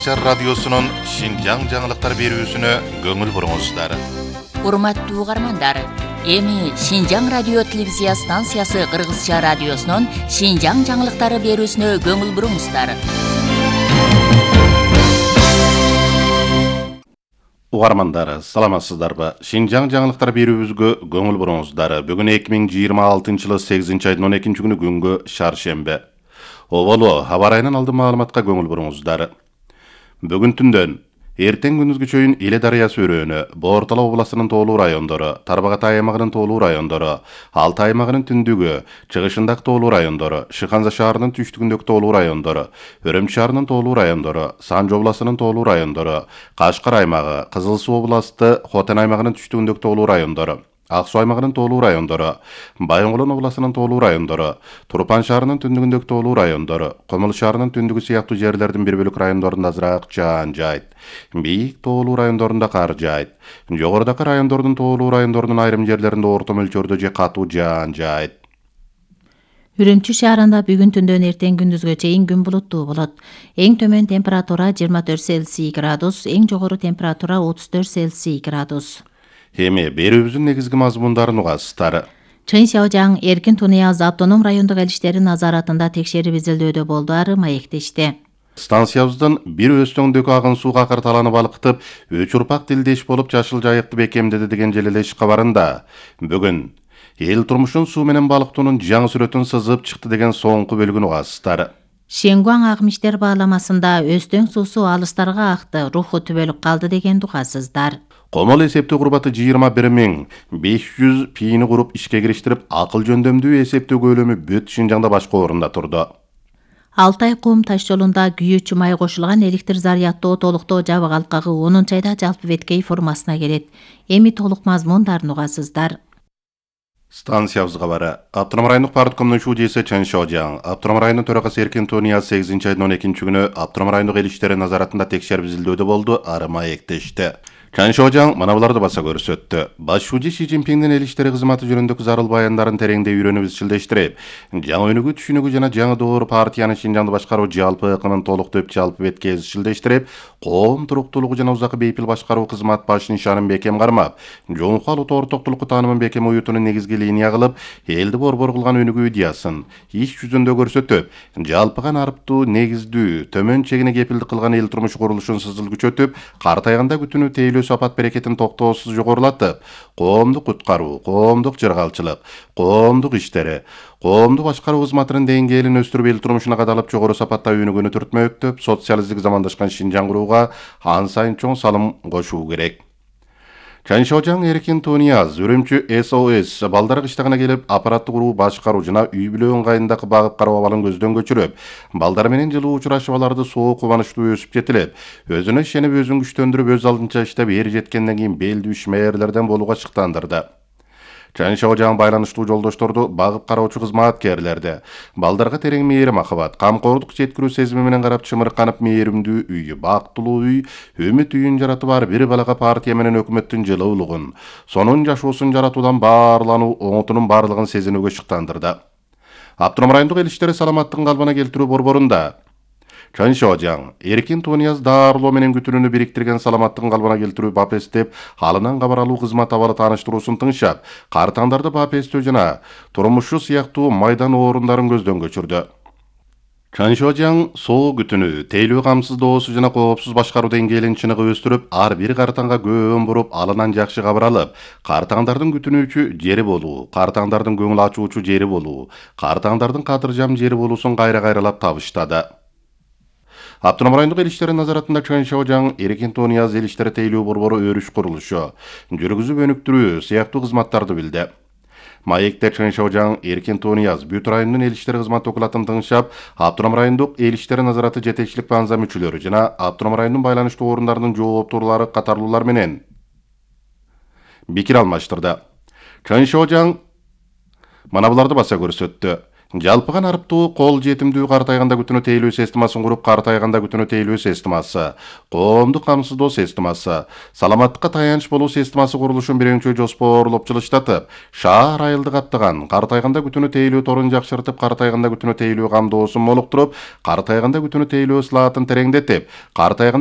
Радиосунун Шинжаң жаңылыктар берүүсүнө көңүл буруңуздар. Урматтуу угармандар, эми Шинжаң радио телевизия станциясы Кыргызча радиосунун Шинжаң жаңылыктары берүүсүнө көңүл буруңуздар. Угармандар, саламатсыздарбы? Шинжаң жаңылыктар берүүбүзгө көңүл буруңуздар. Бүгүн 2026-жылы 8-айдын 12-күнү күнгө шаршембе. Оболу аба ырайынан алдын маалыматка көңүл буруңуздар. Бүгүн түндөн эртең күндүзгө чейин Иле дарыясы өрөөнү, Боортала областынын тоолуу райондору, Тарбагатай аймагынын тоолуу райондору, Алтай аймагынын түндүгү, чыгышындагы тоолуу райондору, Шыханза шаарынын түштүгүндөгү тоолуу райондору, Өрөмчү шаарынын тоолуу райондору, Санжы областынын тоолуу райондору, Кашкар аймагы, Кызыл Суу областы, Хотен аймагынын түштүгүндөгү тоолуу райондору, Ак Суу аймагынын тоолуу райондору, Байынгулон областынын тоолуу райондору, Турпан шаарынын түндүгүндөгү тоолуу райондору, Комул шаарынын түндүгү сыяктуу жерлердин бир бөлүк райондорунда азыраак жаан жаайт. Бийик тоолуу райондорунда кар жаайт. Жогорудагы райондордун тоолуу райондорунун айрым жерлеринде орто мөлчөрдө же катуу жаан жаайт. Үрүмчү шаарында бүгүн түндөн эртең күндүзгө чейин күн булуттуу болот. Эң төмөн температура 24 Цельсий градус, эң жогору температура 34 Цельсий градус. Эми берүүбүздүн негизги мазмундарын угасыздар. Чын Шаожаң Эркин Тунияз автоном райондук элиштери назаратында текшерип изилдөөдө болду, ары маектешти. Станциябыздын бир өстөңдөгү агын сууга карталанып балыктып, үч урпак тилдеш болуп жашыл жайыкты бекемдеди деген желелеш кабарында бүгүн эл турмушун суу менен балыктоонун жаңы сүрөтүн сызып чыкты деген соңку бөлүгүн угасыздар. Шенгуаң агымиштер бааламасында Өстөң суусу алыстарга акты, руху түбөлүк калды деген угасыздар. Комол эсептөө курбаты 21.500 пийини куруп ишке кириштирип, акыл жөндөмдүү эсептөө көлөмү бүт Шинжаңда башка орунда турду. Алтай Кум таш жолунда күйүүчү май кошулган электр заряддоо толуктоо жабык алкагы 10 айда жалпы Беткей формасына келет. Эми толук мазмундарын угасыздар. Станциябызга бара. Аптырам райондук парткомдун шуудиеси Чын Шаожаң, Аптырам районунун төрагасы Эркин Тунияз 8-айдын 12-күнү Аптырам райондук эл иштери назаратында текшерип изилдөөдө болду, ары маектешти. Чын Шаожаң мына буларды баса көрсөттү. Баш шууди Си Цзиньпиндин эл иштери кызматы жөнүндөгү зарыл баяндарын тереңдей үйрөнүп изчилдештирип, жаңы өнүгүү түшүнүгү жана жаңы доор партиянын Шинжаңды башкаруу жалпы ыкымын толуктоп жалпы бетке изчилдештирип, коом туруктуулугу жана узакы бейпил башкаруу кызмат баш нишанын бекем кармап, жоңку алуу ортоктулукку таанымын бекем уютунун негизги линия кылып, элди борбор кылган өнүгүү идеясын иш жүзүндө көрсөтүп, жалпыга нарыптуу негиздүү төмөн чегине кепилдик кылган эл турмуш курулушун сызыл күчөтүп, картайганда күтүүнү тейлөө сапат берекетин токтоосуз жогорулатып, коомдук куткаруу, коомдук жыргалчылык, коомдук иштери, коомдук башкаруу кызматынын деңгээлин өстүрүп эл турмушуна кадалып жогору сапатта өнүгүүнү түртмөктөп, социалисттик замандашкан Шинжаң курууга ан сайын чоң салым кошуу керек. Чын Шаожаң Эркин Тунияз Өрөмчү СОС балдары кыштагына келип, аппараттык уруу башкаруу жана үй бүлө ыңгайындагы багып кароо абалын көздөн көчүрүп, балдар менен жылуу учурашып аларды соо кубанычтуу өсүп жетилип, өзүнө ишенип, өзүн күчтөндүрүп, өз алдынча иштеп, эр жеткенден кийин белдүү ишмээрлерден болууга чыктандырды. Чын Шаожаң байланыштуу жолдошторду, багып кароочу кызматкерлерди, балдарга терең мээрим акыбат, камкордук жеткирүү сезими менен карап чымырканып, мээримдүү үй, бактылуу үй, үмүт үйүн жаратып, ар бир балага партия менен өкмөттүн жылуулугун, сонун жашоосун жаратуудан баарлануу оңотунун баардыгын сезинүүгө чыктандырды. Аптырам райондук эл иштери саламаттыгын калыбына келтирүү борборунда Чын Шаожаң Эркин Тунияз даарылоо менен күтүүнү бириктирген саламаттыгын калыбына келтирүү БАПС деп алынан кабар алуу кызмат абалы тааныштыруусун тыңшап, картаңдарды БАПСтөө жана турмушу сыяктуу майдан орундарын көздөн көчүрдү. Чын Шаожаң соо күтүүнү, тейлөө камсыздоосу жана коопсуз башкаруу деңгээлин чыныгы өстүрүп, ар бир картаңга көөн буруп, алынан жакшы кабар алып, картаңдардын күтүнүүчү жери болуу, картаңдардын көңүл ачуучу жери болуу, картаңдардын кадыржам жери болуусун кайра-кайралап табыштады. Аптырам райондук эл иштери назаратында Чын Шаожаң Эркин Тунияз эл иштери тейлөө борбору өрүш курулушу, жүргүзүп өнүктүрүү сыяктуу кызматтарды билди. Маекте Чын Шаожаң Эркин Тунияз бүт райондун эл иштери кызмат окулатын тыңшап, Аптырам райондук эл иштери назараты жетекчилик банза мүчөлөрү жана Аптырам районунун байланыштуу орундарынын жооптуулары катарлуулар менен пикир алмаштырды. Чын Шаожаң мына буларды баса көрсөттү. Жалпыган арыптуу кол жетимдүү картайганда күтүнө тейлөө системасын куруп, картайганда күтүнө тейлөө системасы, коомдук камсыздоо системасы, саламаттыкка таяныч болуу системасы курулушун биринчи жоспоорлоп жылыштатып, шаар айылды каптаган, картайганда күтүнө тейлөө торун жакшыртып, картайганда күтүнө тейлөө камдоосун молуктуруп, картайганда күтүнө тейлөө слаатын тереңдетип, картайганда